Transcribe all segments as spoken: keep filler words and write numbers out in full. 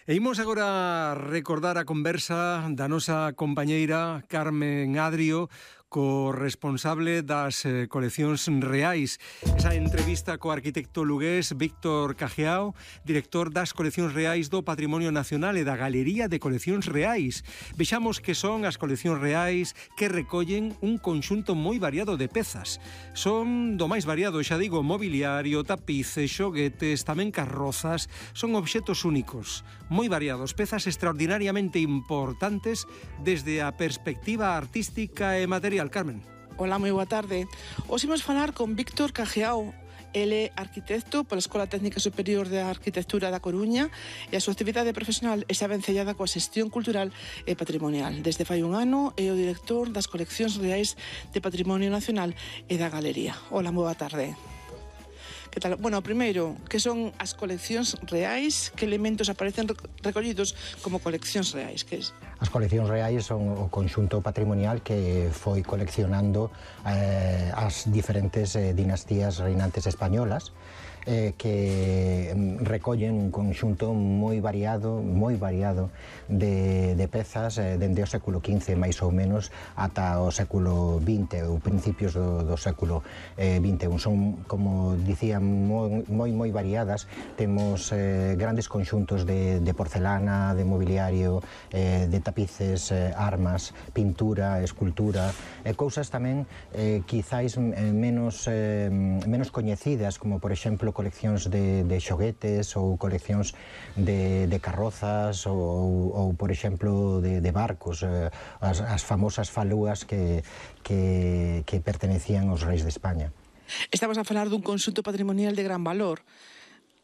E imos agora recordar a conversa da nosa compañeira Carmen Adrio co responsable das eh, coleccións reais. Esa entrevista co arquitecto lugués Víctor Cajiao, director das coleccións reais do Patrimonio Nacional e da Galería de Coleccións Reais. Vexamos que son as coleccións reais que recollen un conxunto moi variado de pezas. Son do máis variado, xa digo, mobiliario, tapices, xoguetes, tamén carrozas. Son obxetos únicos, moi variados, pezas extraordinariamente importantes desde a perspectiva artística e material. Carmen. Hola, moi boa tarde. Hoxe imos falar con Víctor Cajiao. Ele é arquitecto pola Escola Técnica Superior de Arquitectura da Coruña e a súa actividade profesional está vencellada coa xestión cultural e patrimonial. Desde fai un ano é o director das coleccións reais de Patrimonio Nacional e da Galería. Hola, moi boa tarde. Que tal? Bueno, primeiro, que son as coleccións reais? Que elementos aparecen recollidos como coleccións reais? Que es? As coleccións reais son o conxunto patrimonial que foi coleccionando eh, as diferentes eh, dinastías reinantes españolas, eh, que recollen un conxunto moi variado, moi variado de, de pezas eh, dende o século quince máis ou menos ata o século vinte ou principios do, do século eh, vinte e un. Son, como dicía, moi moi, moi variadas. Temos eh, grandes conxuntos de, de porcelana, de mobiliario, eh, de tapices, eh, armas, pintura, escultura, e eh, cousas tamén eh, quizáis eh, menos, eh, menos coñecidas, como por exemplo coleccións de, de xoguetes ou coleccións de, de carrozas ou, ou por exemplo de, de barcos, eh, as, as famosas falúas que, que, que pertenecían aos reis de España. Estamos a falar dun conxunto patrimonial de gran valor.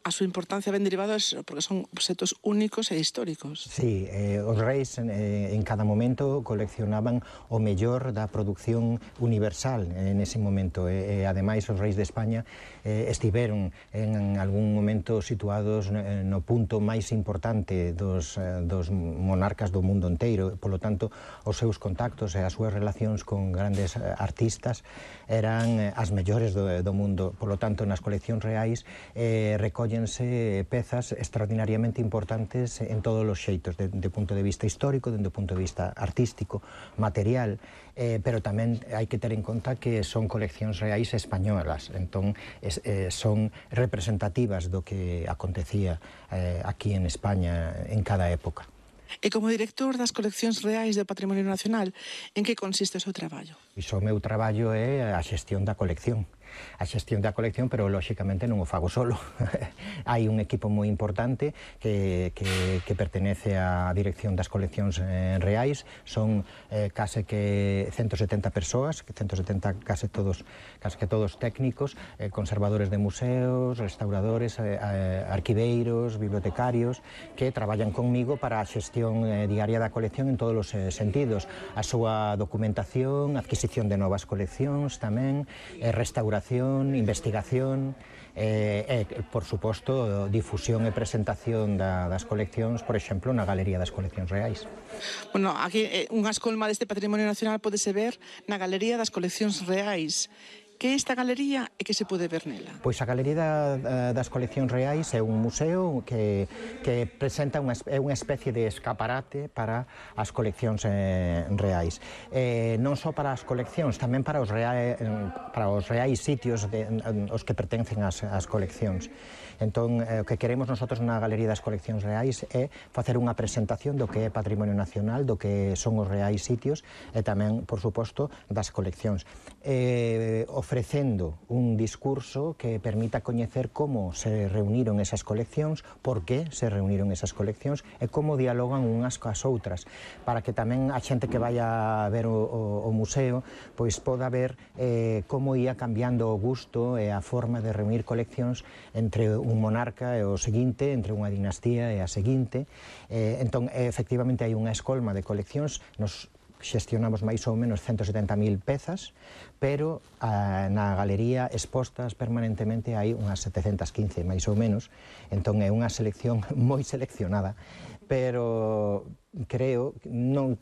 A súa importancia ben derivada porque son obxetos únicos e históricos. Sí, eh, os reis eh, en cada momento coleccionaban o mellor da produción universal en ese momento e, e ademais os reis de España eh, estiveron en algún momento situados no punto máis importante dos, dos monarcas do mundo inteiro. Polo tanto, os seus contactos e as súas relacións con grandes artistas eran as mellores do, do mundo. Polo tanto, nas coleccións reais eh, recollen pezas extraordinariamente importantes en todos os xeitos, de, de punto de vista histórico, dende o punto de vista artístico, material, eh, pero tamén hai que ter en conta que son coleccións reais españolas, entón es, eh, son representativas do que acontecía eh, aquí en España en cada época. E como director das coleccións reais do Patrimonio Nacional, en que consiste o seu traballo? Iso, o meu traballo é a xestión da colección. A xestión da colección, pero lóxicamente non o fago solo. Hai un equipo moi importante que, que, que pertenece á dirección das coleccións eh, reais. Son eh, case que ciento setenta persoas, ciento setenta case todos, case que todos técnicos, eh, conservadores de museos, restauradores, eh, eh, arquiveiros, bibliotecarios, que traballan conmigo para a xestión eh, diaria da colección en todos os eh, sentidos. A súa documentación, adquisición de novas coleccións tamén, eh, restauración, investigación e, eh, eh, por suposto, difusión e presentación da, das coleccións, por exemplo, na Galería das Coleccións Reais. Bueno, aquí eh, unha escolma deste Patrimonio Nacional podese ver na Galería das Coleccións Reais. Que é esta galería e que se pode ver nela? Pois a Galería da, das Coleccións Reais é un museo que, que presenta unha, é unha especie de escaparate para as coleccións eh, reais. Eh, non só para as coleccións, tamén para os reais, para os reais sitios de, os que pertencen ás, ás coleccións. Entón, eh, o que queremos nosotros na Galería das Coleccións Reais é facer unha presentación do que é Patrimonio Nacional, do que son os reais sitios e tamén, por suposto, das coleccións. Eh, ofrecendo un discurso que permita coñecer como se reuniron esas coleccións, por que se reuniron esas coleccións e como dialogan unhas coas outras, para que tamén a xente que vai a ver o, o, o museo pois poda ver eh, como ia cambiando o gusto e a forma de reunir coleccións entre un monarca e o seguinte, entre unha dinastía e a seguinte. Eh, entón, efectivamente, hai unha escolma de coleccións. Nos xestionamos máis ou menos ciento setenta mil pezas, pero a, na galería expostas permanentemente hai unhas setecentas quince, máis ou menos. Entón, é unha selección moi seleccionada, pero creo, non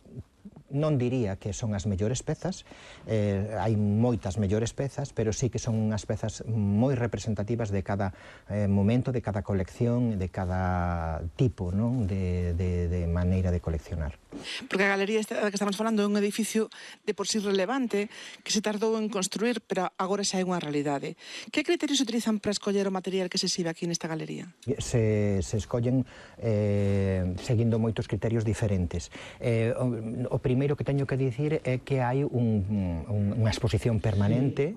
non diría que son as mellores pezas, eh, hai moitas mellores pezas, pero sí que son unhas pezas moi representativas de cada eh, momento, de cada colección, de cada tipo, non? De, de, de maneira de coleccionar. Porque a galería esta da que estamos falando é un edificio de por sí relevante que se tardou en construir, pero agora xa é unha realidade. Que criterios se utilizan para escoller o material que se exhibe aquí nesta galería? Se, se escollen eh, seguindo moitos criterios diferentes. Eh, o, o primeiro que teño que dicir é que hai un, un, unha exposición permanente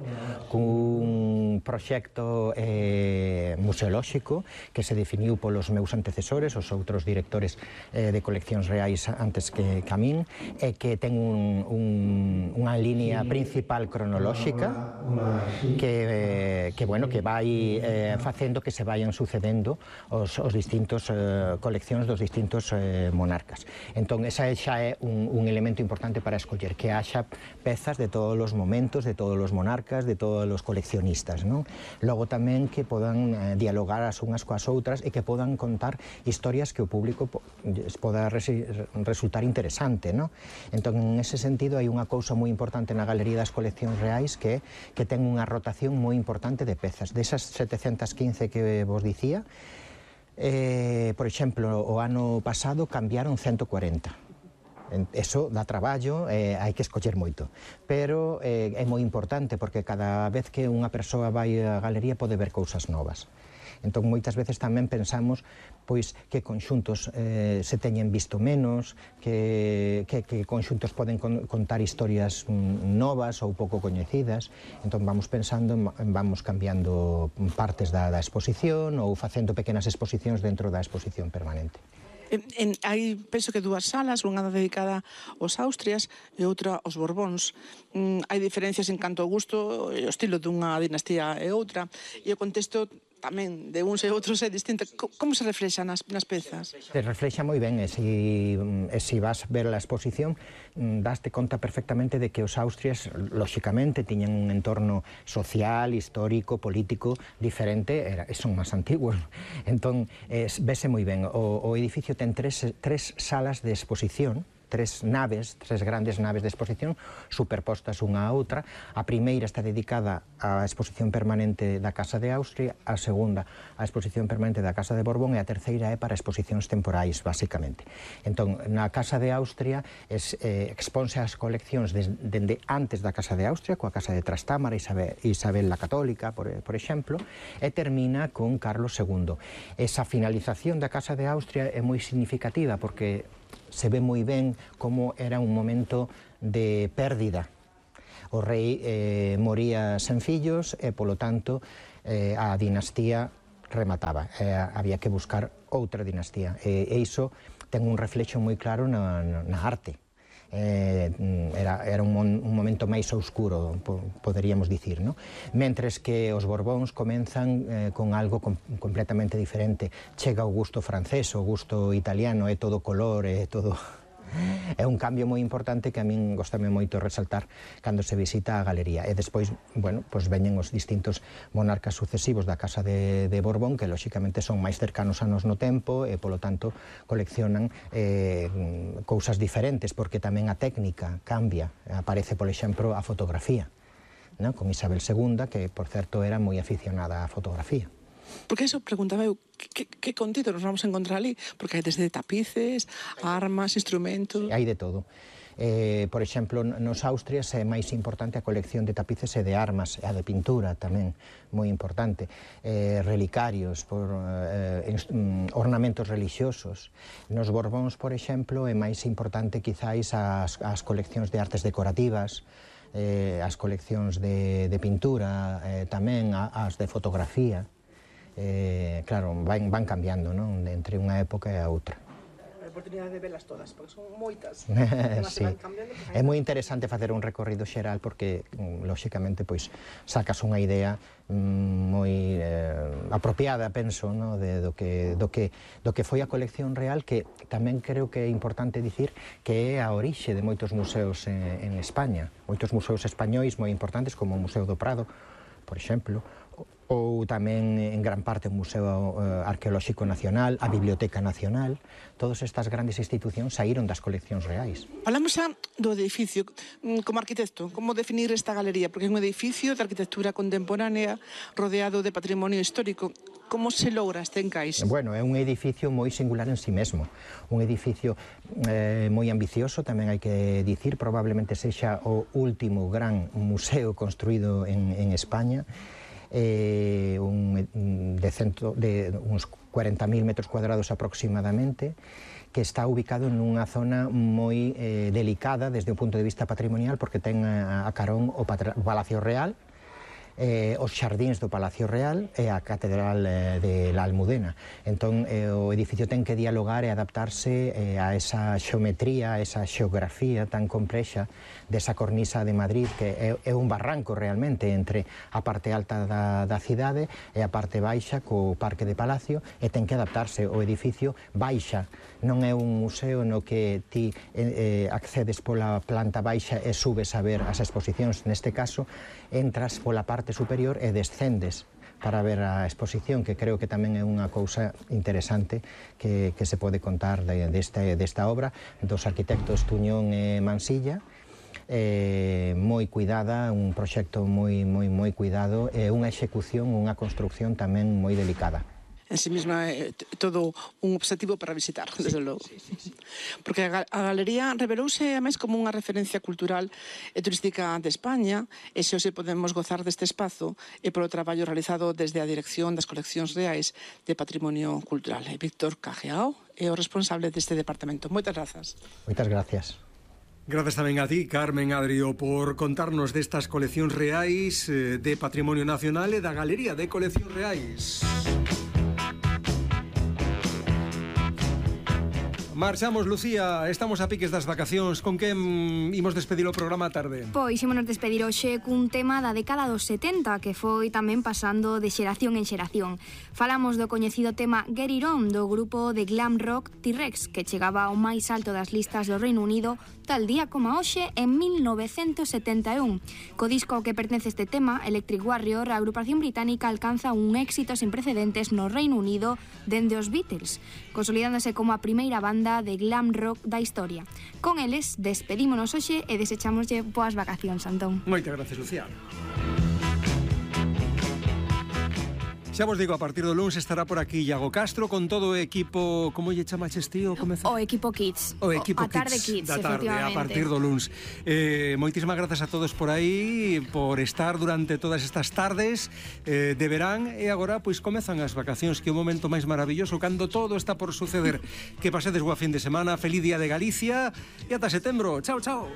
cun proxecto eh, museolóxico que se definiu polos meus antecesores, os outros directores eh, de coleccións reais antes que, que a min, e que ten un, un, unha línea principal cronolóxica que, que, bueno, que vai eh, facendo que se vayan sucedendo os, os distintos eh, coleccións dos distintos eh, monarcas. Entón, esa xa é un, un elemento importante para escoller, que haxa pezas de todos os momentos, de todos os monarcas, de todos os coleccionistas, non? Logo tamén que podan eh, dialogar as unhas coas outras e que podan contar historias que o público po, poda resi, resultar interesante, non? Entón, en ese sentido, hai unha cousa moi importante na Galería das Coleccións Reais que, que ten unha rotación moi importante de pezas. Desas setecentas quince que vos dicía, eh, por exemplo, o ano pasado cambiaron ciento cuarenta. Eso dá traballo, eh, hai que escoller moito, pero eh, é moi importante porque cada vez que unha persoa vai á galería pode ver cousas novas. Entón, moitas veces tamén pensamos pois que conxuntos eh, se teñen visto menos, que, que, que conxuntos poden con, contar historias novas ou pouco coñecidas. Entón, vamos pensando, vamos cambiando partes da, da exposición ou facendo pequenas exposicións dentro da exposición permanente. En, en, hai, penso que dúas salas, unha dedicada aos Austrias e outra aos Borbóns. Mm, hai diferencias en canto ao gusto e o estilo dunha dinastía e outra, e o contexto tamén de uns e outros é distinto. Como se reflexa nas, nas pezas? Se reflexa moi ben, e se si vas ver a exposición, daste conta perfectamente de que os Austrias, lóxicamente, tiñan un entorno social, histórico, político diferente, era, son máis antiguos. Entón, eh, vese moi ben. O, o edificio ten tres, tres salas de exposición, tres naves, tres grandes naves de exposición superpostas unha a outra. A primeira está dedicada á exposición permanente da Casa de Austria, a segunda á exposición permanente da Casa de Borbón e a terceira é para exposicións temporais, basicamente. Entón, na Casa de Austria es, eh, exponse as coleccións dende antes da Casa de Austria, coa Casa de Trastámara, Isabel, Isabel la Católica, por, por exemplo, e termina con Carlos segundo. Esa finalización da Casa de Austria é moi significativa porque se ve moi ben como era un momento de pérdida. O rei eh, moría sen fillos e, polo tanto, eh, a dinastía remataba. Eh, había que buscar outra dinastía. E, e iso ten un reflexo moi claro na, na arte. Eh, era, era un, un momento máis oscuro, po, poderíamos dicir, no? Mentres que os Borbóns comenzan eh, con algo com, completamente diferente. Chega o gusto francés, o gusto italiano, é todo color, é todo... É un cambio moi importante que a min gostame moito resaltar cando se visita a galería. E despois, bueno, pues veñen os distintos monarcas sucesivos da Casa de, de Borbón, que lóxicamente son máis cercanos a nos no tempo e, polo tanto, coleccionan eh, cousas diferentes, porque tamén a técnica cambia. Aparece, por exemplo, a fotografía, ¿no? Con Isabel segunda, que, por certo, era moi aficionada á fotografía. Porque eso, preguntaba eu, que, que contido nos vamos a encontrar ali? Porque hai desde tapices, armas, instrumentos... Hai de todo. Eh, por exemplo, nos Austrias é máis importante a colección de tapices e de armas, e a de pintura tamén, moi importante. Eh, relicarios, por, eh, ornamentos religiosos. Nos Borbóns, por exemplo, é máis importante quizáis as, as coleccións de artes decorativas, eh, as coleccións de, de pintura, eh, tamén as de fotografía. Eh, claro, van, van cambiando, non? Entre unha época e a outra. A oportunidade de velas todas, porque son moitas. Sí. É moi interesante facer un recorrido xeral porque, lóxicamente, pois, sacas unha idea moi eh, apropiada, penso, no? de, do, que, do, que, do que foi a colección real, que tamén creo que é importante dicir que é a orixe de moitos museos en, en España. Moitos museos españois moi importantes, como o Museo do Prado, por exemplo, ou tamén en gran parte o Museo Arqueolóxico Nacional, a Biblioteca Nacional. Todas estas grandes institucións saíron das coleccións reais. Falamos xa do edificio. Como arquitecto, como definir esta galería? Porque é un edificio de arquitectura contemporánea rodeado de patrimonio histórico. Como se logra este encaixe? Bueno, é un edificio moi singular en si mesmo. Un edificio eh, moi ambicioso, tamén hai que dicir, probablemente sexa o último gran museo construído en, en España. Eh, un, de, centro, de uns cuarenta mil metros cuadrados aproximadamente, que está ubicado nunha zona moi eh, delicada desde o punto de vista patrimonial, porque ten a, a carón o, patra, o Palacio Real, eh, os xardíns do Palacio Real e a Catedral eh, de la Almudena. Entón, eh, o edificio ten que dialogar e adaptarse eh, a esa xeometría, a esa xeografía tan complexa desa cornisa de Madrid, que é, é un barranco realmente entre a parte alta da, da cidade e a parte baixa co Parque de Palacio, e ten que adaptarse. O edificio baixa, non é un museo no que ti eh, accedes pola planta baixa e subes a ver as exposicións. Neste caso, entras pola parte superior e descendes para ver a exposición, que creo que tamén é unha cousa interesante que, que se pode contar de, deste, desta obra dos arquitectos Tuñón e Mansilla. Eh, moi cuidada, un proxecto moi, moi, moi cuidado e unha execución, unha construcción tamén moi delicada. En sí mesma é todo un obxectivo para visitar, desde logo. Porque a galería revelouse a máis como unha referencia cultural e turística de España, e se hoxe podemos gozar deste espazo e polo traballo realizado desde a Dirección das Coleccións Reais de Patrimonio Cultural. E Víctor Cajiao é o responsable deste departamento. Moitas grazas. Moitas gracias. Grazas tamén a ti, Carmen Adrio, por contarnos destas coleccións reais de Patrimonio Nacional e da Galería de Coleccións Reais. Marchamos, Lucía, estamos a piques das vacacións. Con que mm, imos despedir o programa a tarde? Pois ímonos despedir hoxe cun tema da década dos setenta, que foi tamén pasando de xeración en xeración. Falamos do coñecido tema Get It On, do grupo de glam rock T-Rex, que chegaba ao máis alto das listas do Reino Unido tal día como hoxe en mil novecentos setenta e un. Co disco ao que pertence este tema, Electric Warrior, a agrupación británica alcanza un éxito sin precedentes no Reino Unido dende os Beatles, consolidándose como a primeira banda de glam rock da historia. Con eles, despedímonos hoxe e desechámoslle boas vacacións, Antón. Moitas gracias, Lucía. Xa vos digo, a partir do luns estará por aquí Iago Castro con todo o equipo, como lle chamaches ti? O, o equipo Kids. O equipo a tarde Kids, Kids, da tarde, a partir do luns. Eh, moitísimas grazas a todos por aí, por estar durante todas estas tardes eh, de verán, e agora pois comezan as vacacións, que é o momento máis maravilloso, cando todo está por suceder. Que pasedes boa fin de semana, feliz día de Galicia, e ata setembro. Chao, chao.